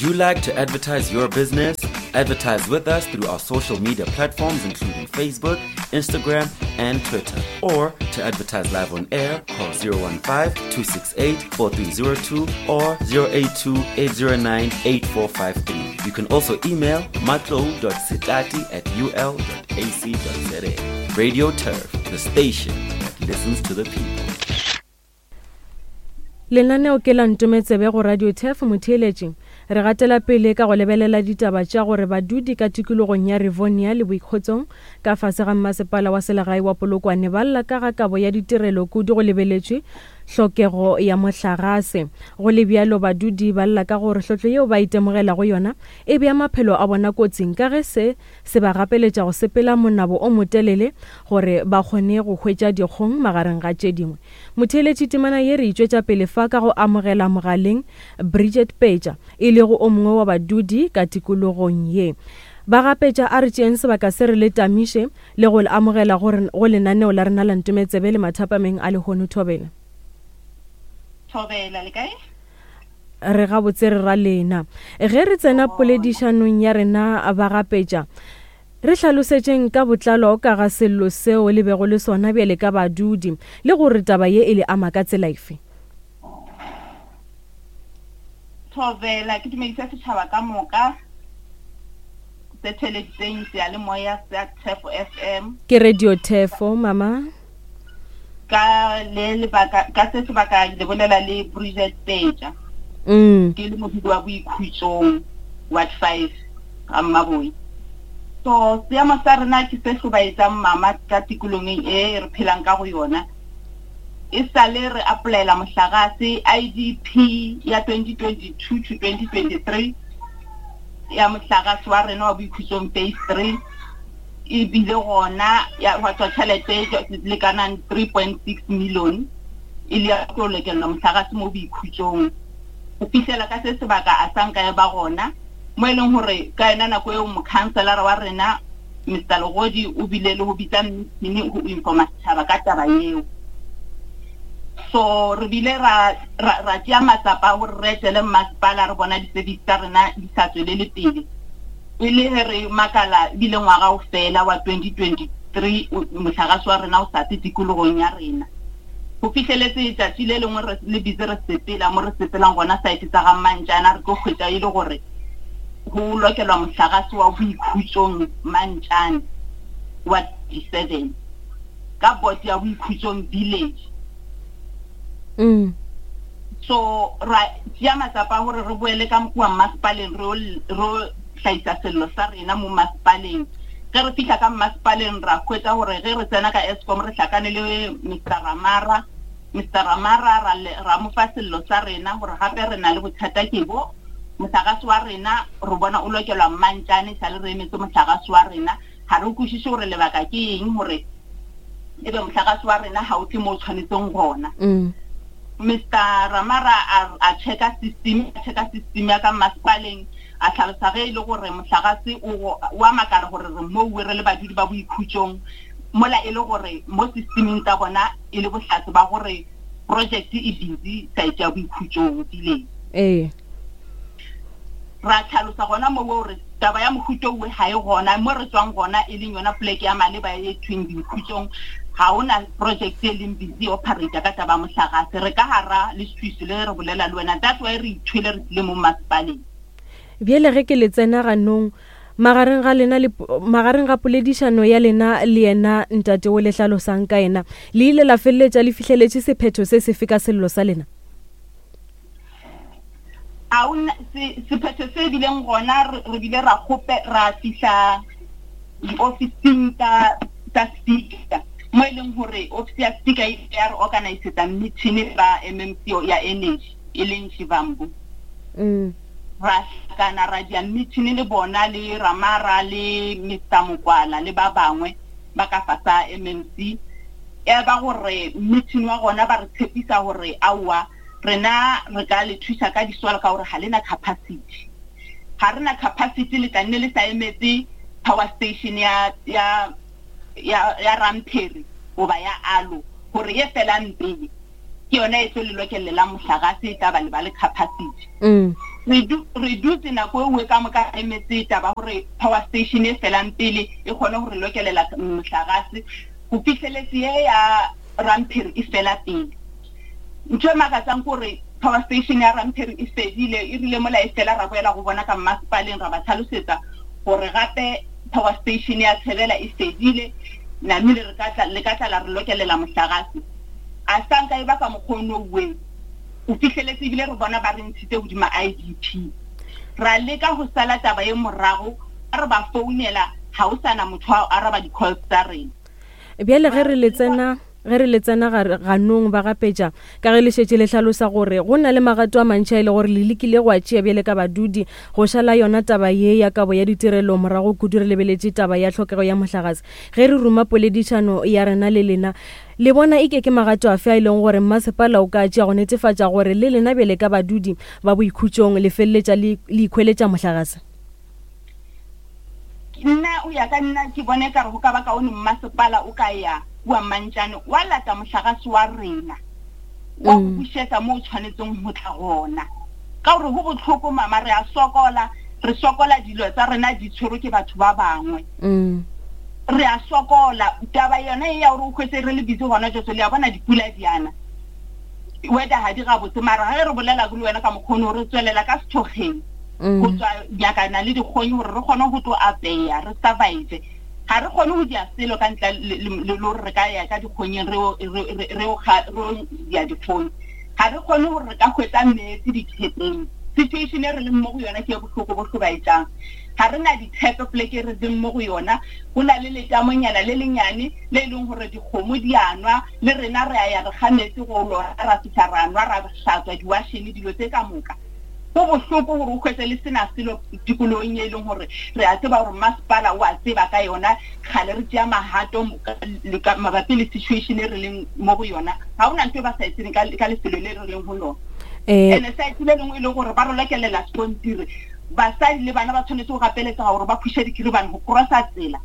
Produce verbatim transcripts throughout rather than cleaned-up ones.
Would you like to advertise your business? Advertise with us through our social media platforms, including Facebook, Instagram, and Twitter. Or to advertise live on air, call zero one five, two six eight, four three zero two or zero eight two, eight zero nine, eight four five three. You can also email matlou dot setlati at u l dot a c dot z a. Radio Turf, the station that listens to the people. Lenaneo ke la Ntometsebe go Radio Turf motheeletši. Re gatela pele ka go lebelela ditaba tša gore badudi ka tikologong ya Rivonia le Boikgotsong ka fase ga mmasepala wa selegae wa Polokwane ba lla ka ga kabo ya ditirelo kudu go lebeletšwe hlokego ya mohlagase. Go le bjalo badudi ba lla ka gore hlotlo yeo ba itemogelago yona e bea maphelo a bona kotsing ka ge se se ba gapeletša go sepela monabo o motelele gore ba kgone go hwetša dikgong magareng ga tše dingwe. Motheeletši temana ye re itšwetša pele fa ka go amogela mogaleng Bridget Peja, e lego o mongwe wa badudi ka tikologong ye. Ba gapetša a re tšeeng sebaka se re le tamiše le go le amogela go go lenaneo la rena la Ntometsebe le mathapameng a lehono. Thobela. Thobela, le kae? Re gabotse re ra lena. Ge re tsena poledišanong ya rena ba gapetša, re hlalosetšeng ka botlalo ka ga sello seo le bego le sona bjale ka badudi le gore taba ye e le ama ka tsela efe. Thobela, ke dumedisa setšhaba ka moka se theleditseng seyalemoya sa Turf F M. Ke Radio Turf, mama. Ka le lebaka, ka se sebaka le bolela le Bridget Peja. Mm. Ke le modudi wa Boikhutsong, Ward five, ga Mmaboi. So seemo sa rena ke se hlobaetsang mama ka tikologong e re phelang ka go yona. E sale re applyela mohlagase I D P ya twenty twenty-two to twenty twenty-three ya mohlagase wa rena wa Boikhutsong phase three e bile gona ya hwa tswa tšhelete e lekanang three point six million e le ya tlo lekelwa mohlagase mo Boikhutsong. Go fihlela ka se sebaka a sa nka ya ba gona mo e leng gore ka yona nako eo mokhanselara wa rena Mister Legodi o bile le go bitsa meeting go informa setšhaba ka taba eo. So re bile ra, ra, ra tšea matsapa a gore re etele mmasepala re bona di-service tsa rena di sa tswelele pele. E le ge re makala ebile ngwaga o fela wa twenty twenty-three, o, mohlagase wa rena o sa tle tikologong ya rena. Go fihleletse letšatši le lengwe re le busy re sepela mo re sepelang gona site tsa ga Mantšana, re tlo hwetša e le gore go lokelwa mohlagase wa Boikhutsong Mantšane wa thirty-seven ka board ya Boikhutsong village. Mm. So ra tšea matsapa a gore re boele ka kua mmasepaleng, re o, re o hlahisa sello sa rena mo mmasepaleng. Ge re fihla ka mmasepaleng ra hwetša gore ge re tsena ka Eskom re hlakane le Mister Ramara. Mister Ramara ra le, ra mo fa sello sa rena gore gape re na le bothata ke bo mohlagase wa rena re bona o lokelwa Mantšane, sale re emetse mohlagase wa rena. Ga re kwešiše gore lebaka ke eng gore ebe mohlagase wa rena ha o tle mo o tshwanetseng gona. Mm. Mister Ramara a, a checka system, a checka system ya ka mmasepaleng, a hlalosa ge e le gore mohlagase o, wa makala gore re moo re le badudi ba Boikhutsong, mola e le gore mo systeming tsa bona e le bohlatse ba gore project e busy site ya Boikhutsong village. Ee. Ra hlalosa gona moo gore taba ya mohuta owe ha e gona, mo re tswang gona e leng yona poleke ya maleba e thweng Boikhutsong, ga ona project e leng busy operator ka taba ya mohlagase. Re ka hara leswiswi le re bolela le wena, that's why re ithwele re tlile mo mmasepaleng. Bjale ge ke le tsena ganong magareng ga lena le po-, magareng ga poledišano ya lena le yena ntate o le hlalosang ka yena, le ile la feleletša le fihleletše sephetho se sefe ka sello sa lena? A ona se, sephetho se bileng gona, re, re bile ra kgope, ra fihla diofising tsa, tsa speaker, mo e leng gore office ya speaker e ya re organisetsa meeting ba M M C ya energy e leng Shivambu. Mm. Ra hlakana ra dia meeting le bona le Ramara le Mister Mokwala le ba bangwe ba ka fasa M M C. Ya ba gore meeting wa gona ba re tshepisa gore aowa rena re ka le thusa ka disola ka gore ha lena capacity. Ha rena capacity le tla nne le sa emetse power station ya, ya, ya, ya Ramperi goba ya Alo gore ye felang pele ke yona e tlo le lokellelang mohlagase e tla ba le ba le capacity. Mm. Re dutse nako e nngwe ka moka emetse taba gore power station e felang pele e kgone go re lokelela mohlagase go fihleletse ye ya Rampiri e fela pele. Ntho e makatsang kore power station ya Rampiri e fedile, e rile mola e fela ra boela go bona ka mmasepaleng ra ba tlhalosetsa gore gape power station ya Tshebela e fedile, namile re ka tla le ka tla la re lokelela mohlagase. A sanka e ba ka mokgono we o fihleletse ebile re bona ba re ntshitse hodima I D P. Ra leka go sala taba e morago, re ba founela ha o sana motho a araba di-calls tsa rena. Bjale ge re le tsena ge re le tsena ganong ba gapetša ka ge le šetše le hlalosa gore go na le magato a mantši a e le gore le lekile go a tšea bjale ka badudi go šala yona taba ye ya kabo ya ditirelo morago kudu re lebeletše taba ya tlhokego ya mohlagase. Ge re ruma poledišano ya rena le lena, le bona e ke ke magato afe a e leng gore mmasepala o ka tšea go netefatša gore le lena bjale ka badudi ba boikhutšong le feleletša le ikhweletša mohlagase? Nna o ya ka nna ke bone ka re go ka ba kaone mmasepala o ka ya kua Mantšane wa lata mohlagase wa rena wa go bušetša mo o tshwanetseng go tla gona. Ka gore go bohloko mama, re a sokola, re sokola dilo tsa rena di tshwerwe ke batho ba bangwe. Re a sokola taba yona e ya gore o hwetse re le busy gona jotso le a bona dipula diana weather ha di gabotse, mara ge re bolela le wena ka mokgono re tswelela ka sethokgeng go tswa nyakana le dikgonyi gore re kgone go tlo apeya re survive. Ga re kgone go dia selo ka ntle le gore re ka ya ka dikgonyeng re re ya dikgonyi. Ga re kgone gore re ka hwetsa metsi dithepeng. Situation e re leng mo go yona ke e bohloko bo hlobaetsang. Ga re na dithepe poleke re leng mo go yona, go na le letamonyana le lenyane le e leng gore dikgomo di a nwa, le rena re a ya re ga metsi go lora ra fihla ra nwa ra hlatswa diwashene dilo tse ka moka. Go bohloko gore o hwetse le sena selo tikologong e leng gore re a tseba gore masepala o a tseba ka yona, kgale re tšea magato mabapi le situation e re leng mo go yona. Ga ona ntho e ba sa e tsebeng ka lefelo le re leng go lona. Ene site le lengwe e leng gore ba re lokelela sekontiri, basadi le bana ba tshwanetse go gapeletsa gore ba phuše dikhiribane go crossa tsela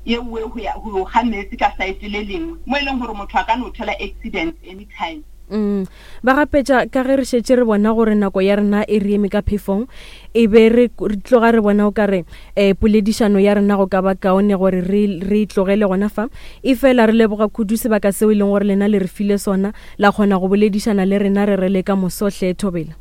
ye nngwe go ya go ga metsi ka site le lengwe mo e leng gore motho a ka no thola accident anytime. Mm. Ba gapetša ka ge re šetše re bona gore nako ya rena e re eme ka phefong, e be re tloga re bona o ka re um poledišano ya rena go ka ba kaone gore re re tlogele gona fa. E fela re leboga kudu sebaka seo e leng gore lena le re file sona la kgona go boledišana le rena re re le ka mosohle. Thobela.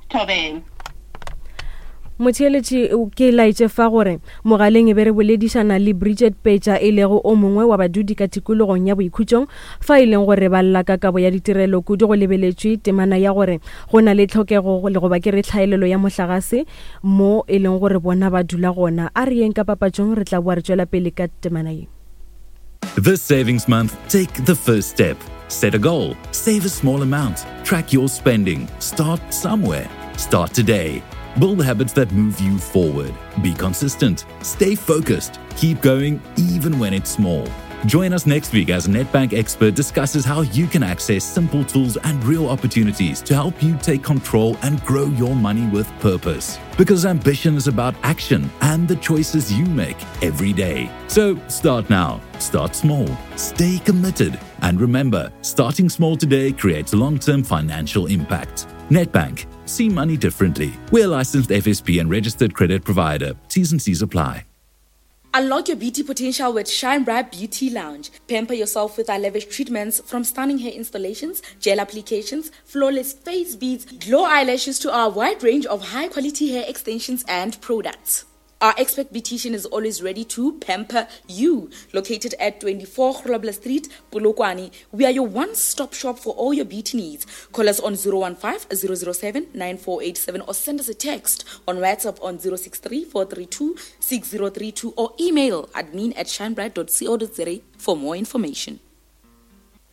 Thobela. Motheeletši ke laetše fa gore mogaleng e be re boledišana le Bridget Petša e lego o mongwe wa badudi ka tikologong ya boikhutšong fa e leng gore ba lla ka kabo ya ditirelo kudu go lebeletšwe temana ya gore go na le tlhokego le goba ke re tlhaelelo ya mohlagase mo e leng gore bona ba dula gona. A re yeng ka papatšong, re tla boa re tšwela pele ka temana ye. This savings month, take the first step. Set a goal, save a small amount, track your spending, start somewhere. Start today. Build habits that move you forward. Be consistent. Stay focused. Keep going even when it's small. Join us next week as a Nedbank expert discusses how you can access simple tools and real opportunities to help you take control and grow your money with purpose. Because ambition is about action and the choices you make every day. So start now. Start small. Stay committed. And remember, starting small today creates long-term financial impact. Nedbank. See money differently. We're a licensed F S P and registered credit provider. T's and C's apply. Unlock your beauty potential with Shine Bright Beauty Lounge. Pamper yourself with our lavish treatments, from stunning hair installations, gel applications, flawless face beads, glow eyelashes to our wide range of high-quality hair extensions and products. Our expert beautician is always ready to pamper you. Located at twenty-four Grobler Street, Polokwane, we are your one-stop shop for all your beauty needs. Call us on zero one five, zero zero seven, nine four eight seven or send us a text on WhatsApp on zero six three, four three two, six zero three two or email admin at shinebright dot co dot za for more information.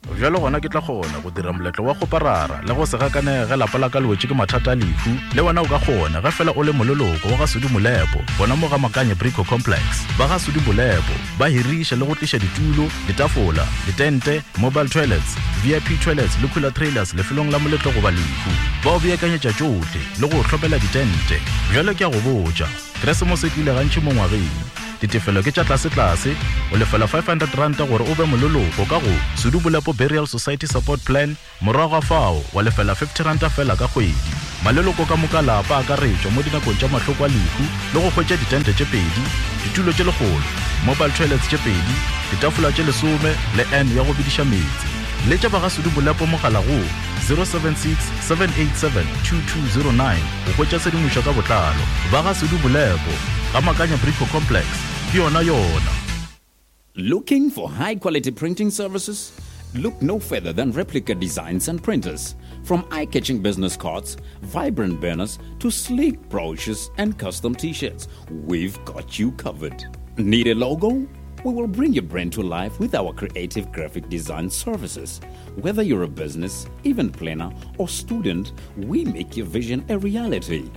Bjalo gona ke tla kgona go dira moletlo wa go parara le go se gakane ge lapa la ka le wetše ke mathata a lehu. Le wena o ka kgona ge fela o le moleloko wa ga Sudi Molepo gona mo ga Makanye Brico Complex. Ba ga Sudi Molepo ba hiriša le go tliša ditulo, ditafola, ditente, mobile toilets, V I P toilets le cooler trailers lefelong la moletlo goba lehu. Ba o beakanyetša tšohle le go hlopela ditente. Bjalo ke a go botša, Keresemose e tlile gantši mo ngwageng. Ditefelo ke tša tlasetlase, o lefela five hundred ranta gore o be moleloko ka go Sudu Bolepo Burial Society Support Plan, morago ga fao wa lefela fifty ranta fela ka kgwedi. Maleloko ka moka lapa a akaretšwa mo dinakong tša mahloko a lehu le go hwetša ditente tše pedi, ditulo tše lekgolo, mobile toilets tše pedi, ditafola tše lesome le N ya go bediša meetse. Letša ba ga Sudu Bolepo mogala go zero seven six seven eight seven two two zero nine go hwetša tshedimošo ka botlalo. Ba ga Sudu Bolepo, ga Makanya Brico Complex, ke yona yona. Looking for high quality printing services? Look no further than Replica Designs and Printers. From eye-catching business cards, vibrant banners, to sleek brochures and custom t-shirts, we've got you covered. Need a logo? We will bring your brand to life with our creative graphic design services. Whether you're a business, event planner, or student, we make your vision a reality.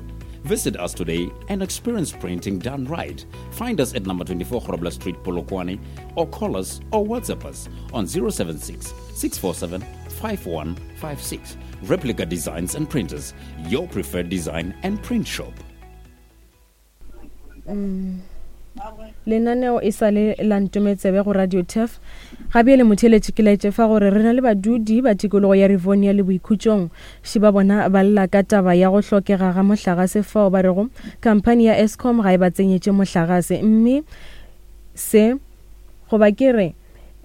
Visit us today and experience printing done right. Find us at number twenty-four Grobler Street, Polokwane, or call us or WhatsApp us on zero seven six, six four seven, five one five six. Replica Designs and Printers, your preferred design and print shop. Mm. Lenaneo e sa le la Ntometsebe go Radio Turf. Gabiele motheletši ke laetše fa gore re na le badudi ba tikologo ya Rivonia le Boikhutšong. Šiba bona ba lla ka taba ya go hlokega ga mohlagase fao ba rego khamphani ya Eskom ga e ba tsenyetše mohlagase, mme se goba ke re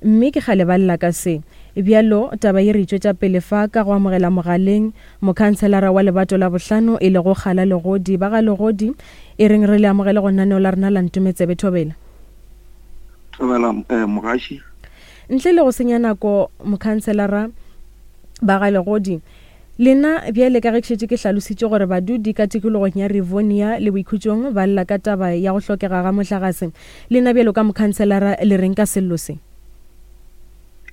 mme ke kgale ba lla ka se. Bjalo taba ye re tšwetša pele fa ka go amogela mogaleng mokhanselara wa lebato la bohlano e lego Kgala Legodi. Ba ga Legodi, e reng re le amogele go lenaneo la rena la Ntometsebe. Thobela. Thobela eh, mogaši. Ntle le go senya nako mokhanselara ba ga Legodi, lena bjale ka ge ke šetše ke hlalositše gore badudi ka tikologong ya Rivonia le Boikhutšong ba lla ka taba ya go hlokega ga mohlagase, lena bjalo ka mokhanselara le reng ka sello se?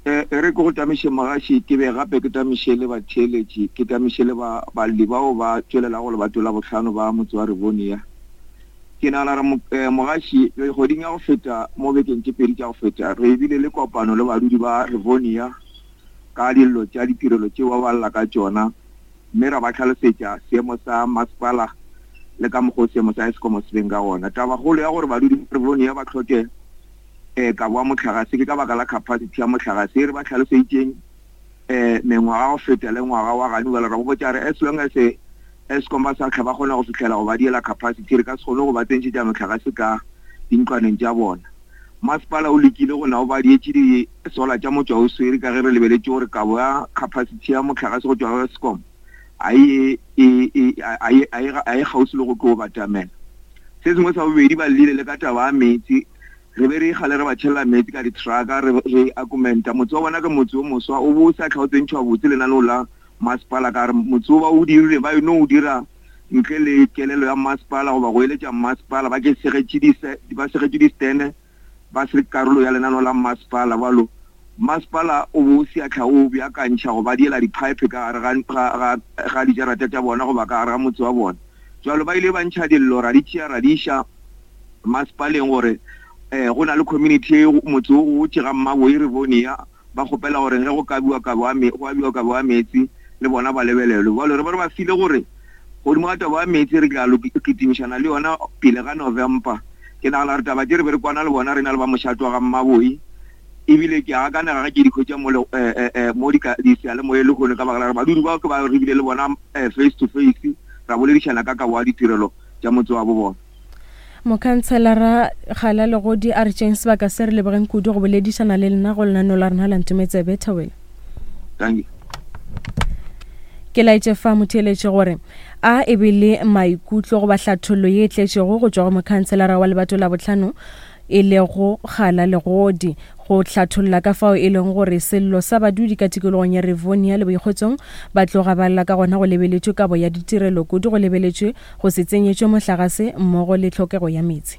E re ke go tamiše mogaši, ke be gape ke tamiše le batheeletši, ke tamiše le ba balli bao ba tšwelelago lebato la bohlano ba motse wa Rivonia. Ke nagana gore mogaši kgweding ya go feta, mo bekeng tše pedi tša go feta, re bile le kopano le badudi ba Rivonia ka dillo tša ditirelo tšeo ba balla ka tšona, mme ra ba hlalosetša seemo sa masepala le ka mokgwa o seemo sa Eskom se beng ka gona. Tabakgolo ya gore badudi ba Rivonia ba hloke eh kabo ya mohlagase ke ka baka la capacity ya mohlagase e re ba hlaloseditšeng eh mengwaga go feta le ngwaga wa gane bjale ra botša re as long as Eskom ba sa tlha ba kgona go fihlela go ba diela capacity, re ka se kgone go ba tsentšhetša mohlagase ka dintlwaneng tša bona. Masepala o lekile go na o ba dietše di-solar tša motšwa o swere ka ge re lebeletše gore kabo ya capacity ya mohlagase go tšwa go Eskom a e a e kgauswi le go tlo batamela. Se sengwe sa bobedi, ba llile le ka taba ya meetse. Re be re kgale re ba tšhela meetse ka di-trucka, re re akumenta. Motse wa bona ke motse o moswa, o bo sa tlha o tsentšhwa botse lenaneo la masepala ka re motse o ba o dirile ba eno o dira ntle le kelelo ya masepala goba go eletša masepala, ba ke segetše di ba segetše di-stene ba se karolo ya lenaneo la masepala. Bjalo masepala o bo se a tlha o beakantšha go ba diela di-pipe ka gare ga ga dijarata tša bona goba ka gare ga motse wa bona. Jwalo ba ile ba ntšha dillo ra di tšea ra di iša masepaleng gore eh go na le community motse o go tšega Mmaboi Rivonia, ba kgopela gore ge go kabiwa kabo go abiwa kabo ya meetse le bona ba lebelelwe. Bjalo re ba re ba file gore godimo ga taba ya meetse re tla kitimišana le yona pele ga November. Ke nagana gore taba tše re be re kwana le bona re na le ba mošato wa ga Mmaboi, ebile ke a akanega ge ke di hwetša mo mo diseyalemoya lehono ka baka la gore badudi bao ke ba re bile le bona face to face ra boledišana ka kabo ya ditirelo tša motse wa bo bona. Mokhanselara Kgala Legodi, a re tšeng sebaka se re lebogeng kudu go boledišana le lena go lenaneo la rena la Ntometsebe. Thobela. Thank you. Ke laetše fa motheeletši gore a e be le maikutlo goba hlathollo ye e tletšego go tšwa go mokhanselara wa lebato la bohlano e lego Kgala Legodi go hlatholla ka fao e leng gore sello sa badudi ka tikologong ya Rivonia le Boikgotsong ba tloga ba lla ka gona go lebeletšwe kabo ya ditirelo kudu go lebeletšwe go se tsenyetšwe mohlagase mmogo le tlhokego ya meetse.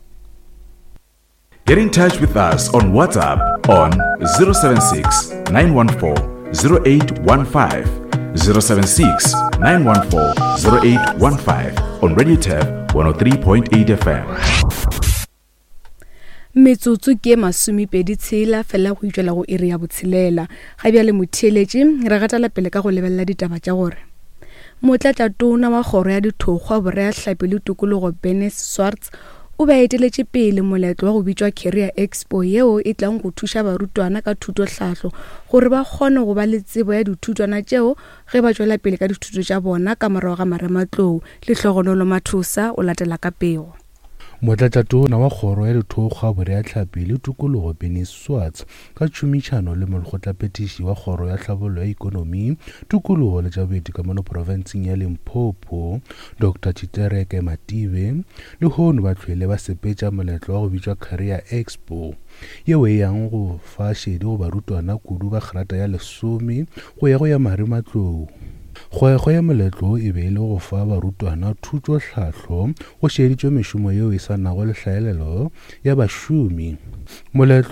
Get in touch with us on WhatsApp on zero seven six, nine one four, zero eight one five, zero seven six, nine one four, zero eight one five on Radio Turf one oh three point eight F M. Metsotso ke masomepedi tshela fela go itšwela go iri ya botshelela. Ga bjale motheeletši re gatela pele ka go lebelela ditaba tša gore motlatšatona wa kgoro ya dithokgwa, boreahlapi le tokologo Bernice Swartz o be a eteletše pele moletlo wa go bitšwa Career Expo yeo e tlang go thuša barutwana ka thutohlahlo gore ba kgone go ba le tsebo ya dithutwana tšeo ge ba tšwela pele ka dithuto tša bona ka morago ga marematlou. Lehlogonolo Mathosa o latela ka pego. Motlatšatona wa Kgoro ya Dithokgwa, Boreahlapi le Tokologo Benny Swartz ka tšhomišano le molekgotlaphethiši wa Kgoro ya Tlhabollo ya Ikonomi, Tokologo le tša Boeti ka mono profenseng ya Limpopo, Doctor Tshitereke Matibe, lehono ba hlwele ba sepetša moletlo wa go bitšwa Career Expo yeo e yang go fa šedi go barutwana kudu ba kgrata ya lesome go ya go ya marematlou. Kgwekgwe ya moletlo wo e be e le go fa barutwana thutohlahlo go šeditšwe mešomo yeo e sa nago le hlaelelo ya bašomi. Moletlo